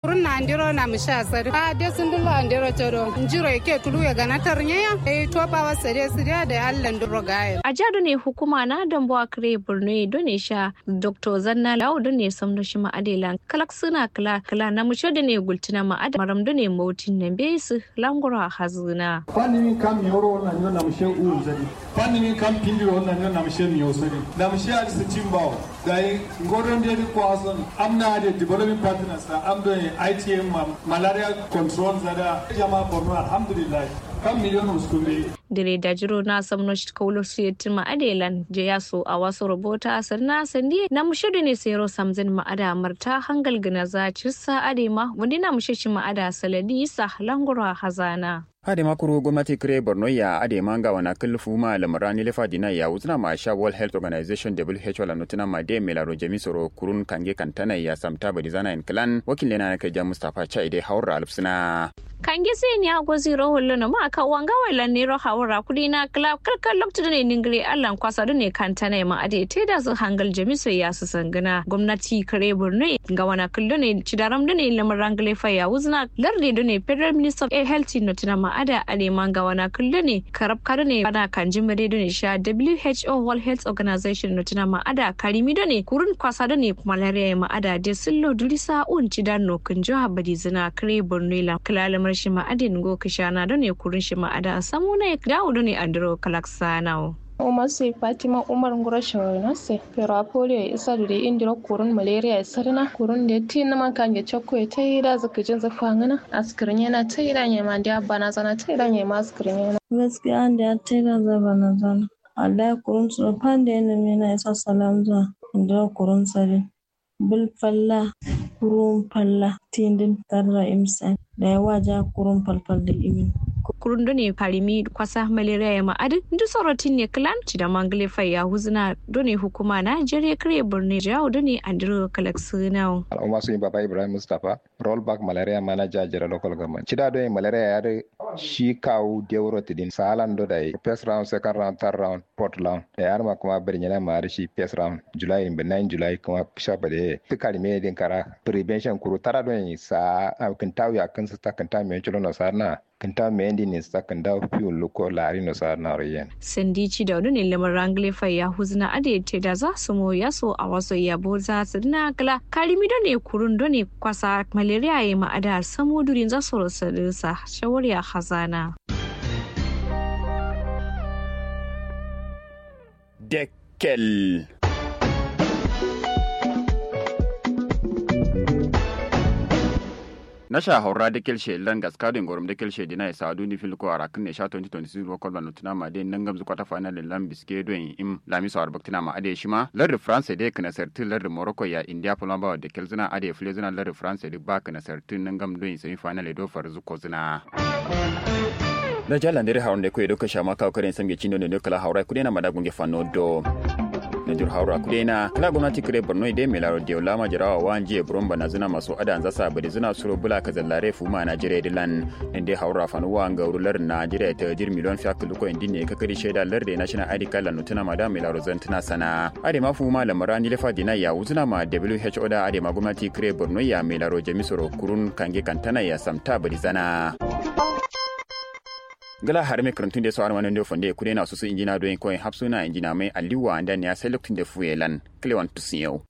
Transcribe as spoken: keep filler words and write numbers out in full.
Kurun na andiro na misha sadi a de sundullo andiro todo njiro ike tulu ya gana tarnyaya. Dai topawa sade sidiya da allan duro gaye. Aja done hukuma na dambuwa kare borno ye done sha. Doktor zanna lawo done samno shima adelan kalak suna kala kala na musho done gultuna ma ada maram done mautin nan be su langura hazuna. Fani min kam yoro na nyo na mushe uru zadi. Fani min kam pindi ro na nyo na mushe miyo sadi. Na mushe adi sitin bawo. Dai ngoron de di kwason amna de development partners na am don itm ma malaria control zada jama borno alhamdulillah. Kam miliyon uskunde. Dire da jiro na samno shi kaulo su yettin ma adelan je yaso a waso robota sanna sandi na mushe done sero samzin ma ada marta hangal gina za cirsa ade ma wandi na mushe shi ma ada saladi isa langura hazana. Adema kuru gomnati kre borno ya adema ngawana kǝl fuma lamara nilefa dina ya wuzǝna ma sha world health organization who la notuna ma de melaro jami soro kurun kange kantana ya samta badi zana en klan wakil lena na kaja mustapha chai de haura alfsina. Kange sai ni ago ziro hollo no ma ka wanga wai lan nero haura kudi na kla kalkal loktu done ningre allan kwasa done kantana ma ade te da su hangal jami so ya su sangana gomnati kre borno ngawana kǝl done cidaram done lamara nglefa ya wuzna larde done federal minister of health notuna ma ada adema ngawana kǝl done karab ka done bana kanji mare done sha who world health organization notuna ma ada karimi done kurun kwasa done malaria ma ada de sillo dulisa un cidan no kunjo habadi zina kre borno ila kla lamar shi ma adin go kishana done kurun shi ma ada samuna dawo done andro kalak sanawo. Umar sai fatima umar nguro shawari no sai fero apolio ya isa dure indiro kurun malaria ya sarina kurun da ya ti naman kange chokko ya ta yi da zaka jin zafa ngana askirin yana ta yi da nyema da abba na zana ta yi da nyema askirin yana. Gaskiya an da ya ta yi da zaba na zana. Wallahi kurun su fan da yana mena ya sa salam zuwa indiro kurun sarin. Bul falla kurun falla tindin tarra imsan da ya waja kurun falfal da imin. Kurun done farimi kwasa malaria ya ma'adin duk sorotin ne clan ci da mangle fai ya huzuna done hukuma na jere kare borno jawo done andiro kalak sunawo. Al'umma sun yi baba ibrahim mustapha rollback malaria manager jere local government cida done malaria ya da shi kawu deuro tidin salan do da yi first round second round third round fourth round da ya ma kuma birnyana ma da shi first round july in benign july kuma sha bade tukari me din kara prevention kuru tara don sa kintawi akin sa kintawi me chulo no sarna kintawi me din sa kintawi fiu luko lari no sarna royen. Sandi ci da wani lamar rangle fai ya huzna ade te da za su mo ya so a waso ya bo za su dina kala karimi done kurun done kwasa malaria ya ma'ada samu durin za su rosa sa shawar ya hazana. Dekkel. Nasha haura dekkel she lan gaska din gorom dekkel she dina isa duni fil ko arakin ne sha twenty twenty-six rokol ban tuna ma de nangam zu kwata final lan biske do in im lamiso arbaktina ma ade shima lar de france de kana sartin lar de morocco ya india fulma ba dekkel zina ade fule zina lar de france de ba kana sartin nangam do in semi final do far zu ko zina. Na jalla ndere haron de ko edo kasha ma kawo karen samge cindo ne kala haura kude na mada gunge fanno do. Na jur haura kude na kala gomnati kare borno ide me laro de lama jarawa wa njiye buron bana zina maso ada anza sa bade zina suro bula ka zallare fu ma na jire dilan. Inde haura fanu wa nga urular na jire ta jir miliyon fiya kulu ko indin ne ka kari sheda lar de national id card la nutuna mada me laro zantuna sana. Ade ma fu ma lamara ni lefa dina ya wuzuna ma who da ade ma gomnati kare borno ya me laro jami soro kurun kange kantana ya samta bade zana. Gala harme karantun de so harma nande fonde kude na susu injina do en koyin hapsuna injina mai aliwa anda ne ya sai lokacin da fuye lan klewan tusin yau.